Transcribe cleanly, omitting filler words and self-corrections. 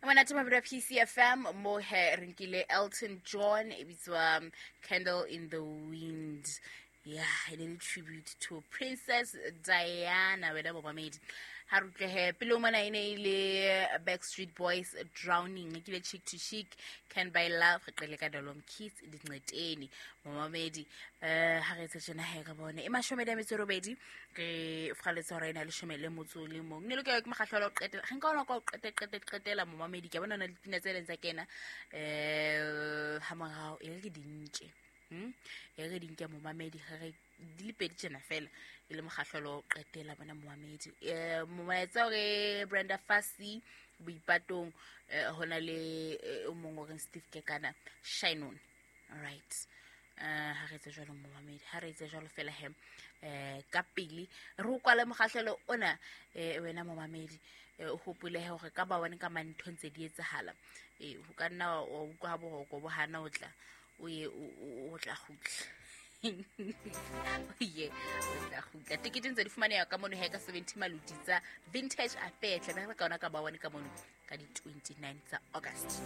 Monate mabelo a PCFM mo he re nkile Elton John e bitswa Candle in the Wind. Yeah, e ne le tribute to Princess Diana wena momamedi. Ha re utlwe he pele o mona e ne e le Backstreet Boys Drowning, e kile Chick to Chic, Can Buy Love, re qele ka Dolom Kids Dinqeteni. Momamedi, ha re etse tjena he re bone. E mashome le metso e robedi re fgaletse hora ena leshome le motso le mong. Ne lokela ke mokgahlelo wa ho qetela. Re nka ona ka ho qete qete qetela momamedi. Ke a bona hona le dipina tse leng tsa kena ha morao e re ke di nke. E re di nke momamedi ge re di le pedi tjena fela e le mokgahlelo wa ho qetela bona momamedi. Molaetsa o re Brenda Fassie boipatong, ho na le o mong o reng Steve Kekana shine on. All right. Ha re etse jwalo momamedi, ha re etse jwalo fela he ka pele re o kwale mokgahlelo ona, wena momamedi, o hopole he hore ka ba one ka mane ntho ntse di etsahala. Ho ka nna wa utlwa ha boroko bo hana o tla o ye o tla kgutla. Ye, o tla kgutla. Tekete ntse di fumaneha ka mono he ka 70 maluti tsa Vintage Affair. Tla be re ka ona ka ba one ka mono ka di 29 tsa August.